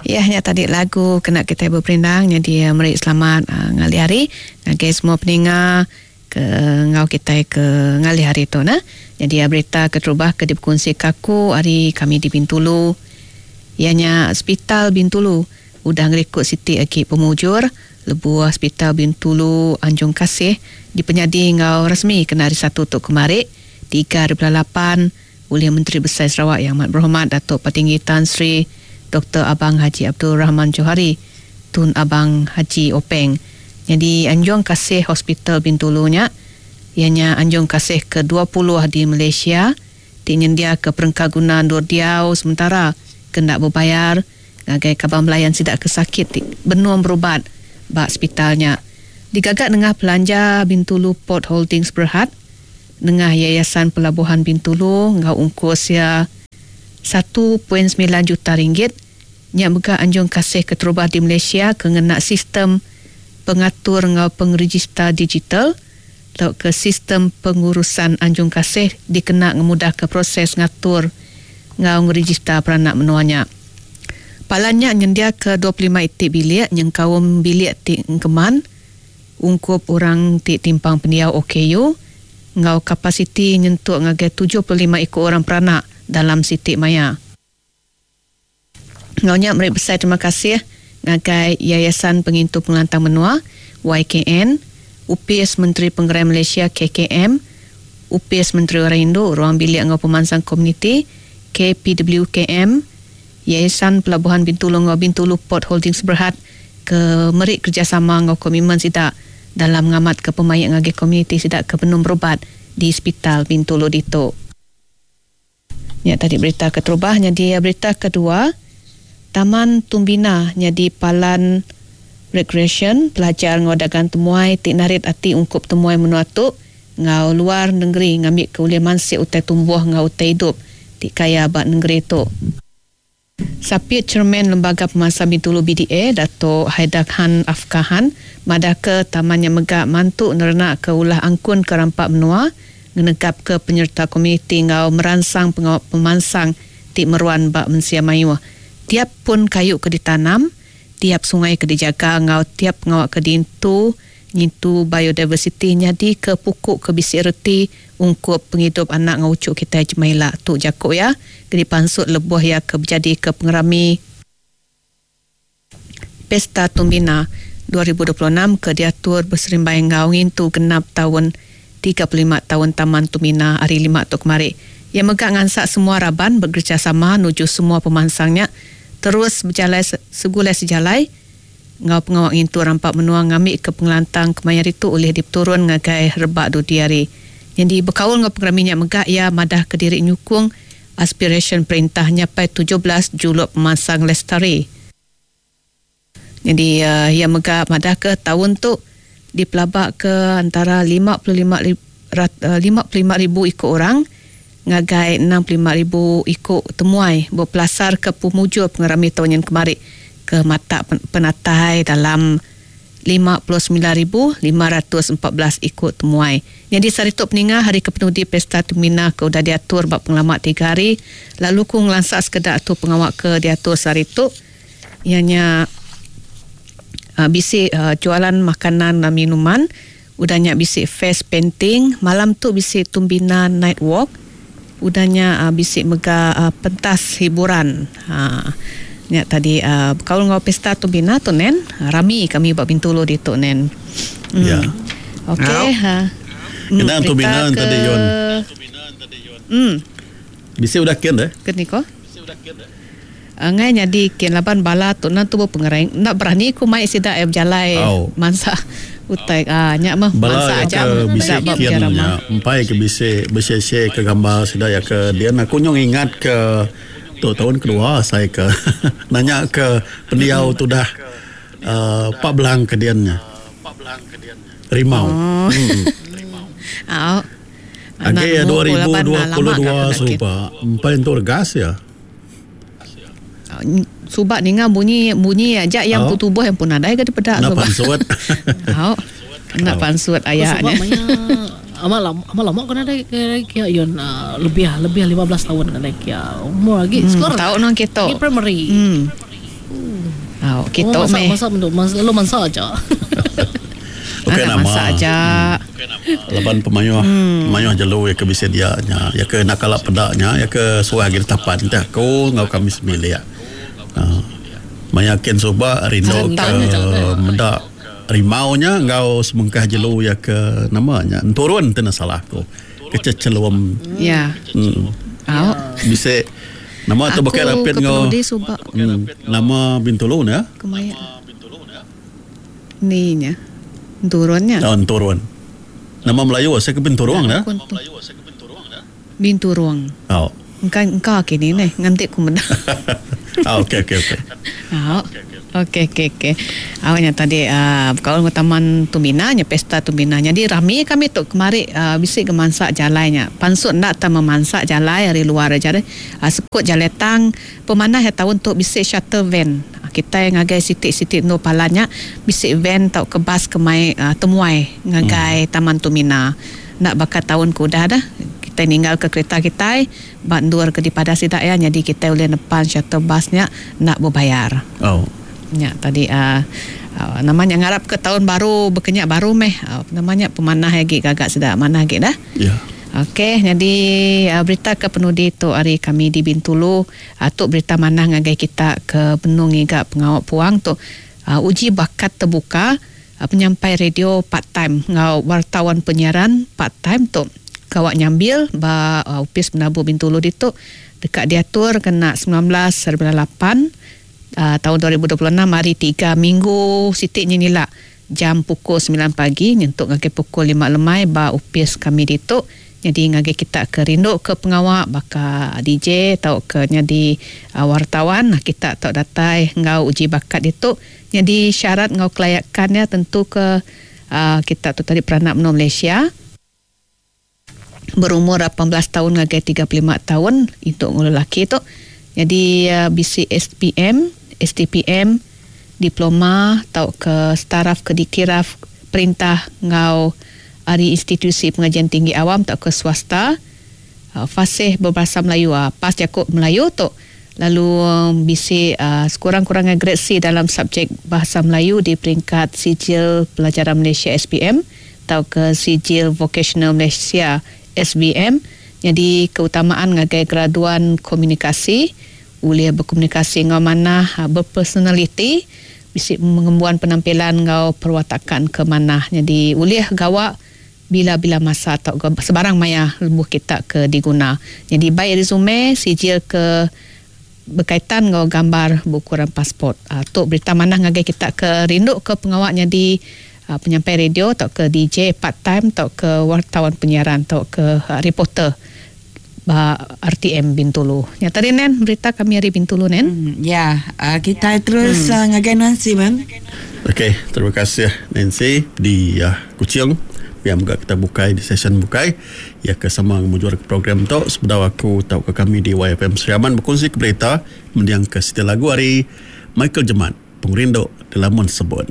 Iya nya tadi lagu kena kitai beperindang nyadi meri selamat ngalih hari ngagai semua peninga ke enggau kitai ke ngalih hari tu nah. Nyadi berita keterubah ke dipekunsika aku ari kami di Bintulu iya nya Sepital Bintulu udah ngerikut siti agi pemujur lebuh Sepital Bintulu Anjung Kasih dipenyadi enggau resmi kena hari Satu tu kemari, 3.8. Ulih Menteri Besai Sarawak Yang Amat Berhormat Datuk Patinggi Tan Sri Doktor Abang Haji Abdul Rahman Johari Tun Abang Haji Openg nyadi Anjung Kasih Hospital Bintulu nya iya nya Anjung Kasih ke 20 di Malaysia ti nyendiaka perengka guna endur diau sementara ke enda bebayar ngagai kaban belayan sida ke sakit ti benung berubat ba sepital nya. Digaga nengah pelanja Bintulu Port Holdings Berhad. Nengah Yayasan Pelabuhan Bintulu enggau ungkus iya 1.9 juta ringgit, nya mega anjung kasih keterubah di Malaysia ke ngena sistem pengatur enggau pengerejista digital tauka sistem pengurusan anjung kasih dikena ngemudahka proses ngatur enggau ngerejista peranak menua nya. Palan nya nyendiaka 25 iti bilik nyengkaum bilik ti engkeman, Ungkup orang ti timpang pendiau OKU enggau kapasiti nyentuk ngagai 75 iku orang peranak dalam siti maya. Enggau nya meri besai terima kasih ngagai Yayasan Pengintu Pengelantang Menua, YKN, Opis Menteri Pengerai Malaysia, KKM, Opis Menteri Orang Indu, Ruang Bilik enggau Pemansang Komuniti, KPWKM, Yayasan Pelabuhan Bintulu enggau Bintulu Port Holdings Berhad ke meri kerejasama enggau komitmen sida dalam ngamatka pemaik ngagai komuniti sida ke benung berubat di Sepital Bintulu ditu. Nya tadi berita keterubah nyadi berita kedua, Taman Tumbina nyadi palan rekreasyen, pelajar enggau dagang temuai ti narit ati ungkup temuai menua tu enggau luar nengeri ngambika ulih mansik utai tumbuh enggau utai idup ti kaya ba nengeri tu. Sapit Chairman Lembaga Pemansang Bintulu BDA, Dato Haidar Khan Afkahan madahka taman nya mega mantu nerenakka ulah angkun ke rampa menua, ngenegapka penyereta komuniti enggau meransang pengawa pemansang ti meruan ba mensia mayuh. Tiap pun kayu ke ditanam, tiap sungai ke dijaga enggau tiap pengawa ke diintu ngintu biodiversiti nyadika puku ke bisi reti ungkup pengidup anak enggau uchu kitai jemah ila, tu jaku iya ke dipansut lebuh iya ke bejadika pengerami Pesta Tumbina 2026 ke diatur beserimbai enggau ngintu genap taun 35 taun Taman Tumbina hari Lima tu kemari. Iya mega ngansak semua raban bekerejasama nuju semua pemansang nya terus bejalai segulai sejalai enggau pengawa ngintu rampa menua ngambika pengelantang kemaya ditu ulih dipeturun ngagai rebak dudi hari. Nyadi bekaul enggau pengerami nya mega iya madahka diri nyukung aspirasyen perintah nyapai 17 juluk pemansang lestari. Nyadi iya mega madahka taun tu dipelabaka antara 55 55 ribu iku orang ngagai 65 ribu iku temuai bepelasarka pemujur pengerami taun nyin kemari ke matak penatai dalam 59,514 iku temuai. Nyadi sehari tu peninga hari kepenudi Pesta Tumina ke udah diatur ba pengelama tiga hari lalu ku ngelansa sekeda tu pengawa ke diatur sehari tu iya nya bisi jualan makanan dan minuman. Udah nya bisi face painting, malam tu bisi Tumbina Night Walk, udah nya bisi mega pentas hiburan. Ha nya tadi bekaul enggau pesta Tumbina tu nen, rami kami ba Bintulu ditu nen. Ya. Okey ha. Kena Berita Tumbina ke tadi Yun. Bisi udah kin deh. Ke ni ko? Angai nyadi kin laban bala tu endang tubuh pengerai enda berani ku mai sida iya bejalai Au. mansa utai ah nya meh Bala mansa iya aja ke meh bisi meda ba kin Jarama. nya empai ke bisi beshare-share ke gambar sida iya ke dian aku nyau ngingat ke tu taun kedua asai ke nanya ke pendiau tudah uhh pak belang ke dian nya. Rimau. Oh. Uhh. Au. Enda Agi iya nemu dua ku ribu laban dua lama puluh ga dua kena kin. suba empai entu regas iya. Suba ninga bunyi bunyi aja yang Oh. empu tubuh yang pun nadai ga dipeda Enda suba. pansut. Au. Enda Oh. pansut Ku aya suba nya. maya amat lama amat lama ku nadai ke kia yun uh, lebih lebih 15 tahun nadai kia. Umur agi Hmm, sekolah. tau nang kitu. Agi primary. Hmm. Hmm. Au, kitu oh, meh. Masa masa masa lalu mansa aja. Bukan Anak nama. masak aja. Laban pemayuh pemayuh jelu ya ke bisi dia nya ya ke nak kala peda nya ya ke suah agi ditapan entah aku enggau kami sebilik. Uh, maya kin suba rindu ke meda rimau nya enggau semengkah jelu ya ke nama nya enturun ti enda salah aku. Kececelum. Ya. Au. Bisi nama tu Aku bukai rapit ke enggau penudi suba. Nama Bintulu ne. Kemaya. Ni nya. Enturun nya. Oh, enturun. Nama Melayu asal ke Binturung ne. Binturung. Oh. Engka engka kini neh nganti ku meda. Ah, okey okey okey. Au. Okey okey okey. Au nya tadi uh, bekaul enggau Taman Tumbina nya Pesta Tumbina. Nyadi rami kami tu kemari uh, bisi ke mansa jalai nya. Pansut enda tau memansa jalai ari luar aja deh. Uh, sekut jalai tang pemanah iya taun tu bisi shuttle van. Kitai ngagai siti-siti endur palan nya bisi van tauka bas ke mai temuai ngagai Taman Tumina. Enda baka taun ke udah dah kitai ninggalka kerita kitai ba endur ke dipadah sida iya nyadi kitai ulih nepan shuttle bus nya enda bebayar. Nya tadi nama nya ngarapka taun baru baka nya baru meh nama nya pemanah agi gaga sida manah agi dah. Okey nyadi berita ke penudi tu ari kami di Bintulu. Tu berita manah ngagai kita ke benung ngiga pengawa puang tu. Uji bakat tebuka penyampai radio part time enggau wartawan penyiaran part time tu gawa nyambil ba Opis Penabu Bintulu ditu deka diatur kena 19.8 taun 2026 hari tiga minggu siti nyin ila jam pukul semilan pagi nyentuk ngagai pukul lima lemai ba opis kami ditu. Nyadi ngagai kita ke rindu ke pengawa baka DJ tauka nyadi wartawan kita tau datai enggau uji bakat ditu. Nyadi syarat enggau kelayakan iya tentu ke kita tu tadi peranak menua Malaysia. Berumur 18 taun ngagai 35 taun intu enggau lelaki tu. Nyadi bisi SPM, STPM, diploma tauka setaraf ke dikiraf perintah enggau ari institusi pengajian tinggi awam tauka swasta, fasih berbahasa Melayu, pas jaku Melayu tu lalu bisi sekurang-kurangnya gred C dalam subjek Bahasa Melayu di peringkat Sijil Pelajaran Malaysia, SPM, tauka Sijil Vokasional Malaysia, SVM, nyadi keutamaan ngagai graduan komunikasi, ulih bekomunikasi enggau manah, bepersonaliti, bisi ngembuan penampilan enggau perwatakan ke manah nyadi ulih gawa bila-bila masa tauka sebarang maya lebuh kita ke diguna. Nyadi bai resume, sijil ke bekaitan enggau gambar beukuran pasport. Tu berita manah ngagai kita ke rindu ke pengawa nyadi penyampai radio tauka DJ part time tauka wartawan penyiaran tauka reporter ba RTM Bintulu. Nya tadi nen berita kami ari Bintulu nen. Ya, kitai terus ngagai Nancy men. Okey, terima kasih Nancy di Kuching. Pia mega kita bukai di session bukai iya ke sama ngemujur ke program tu sebedau aku tauka kami di YFM Sri Aman bekunsi ke berita mending ke siti lagu ari Michael Jemat Pengerindu Dilamun Sebun.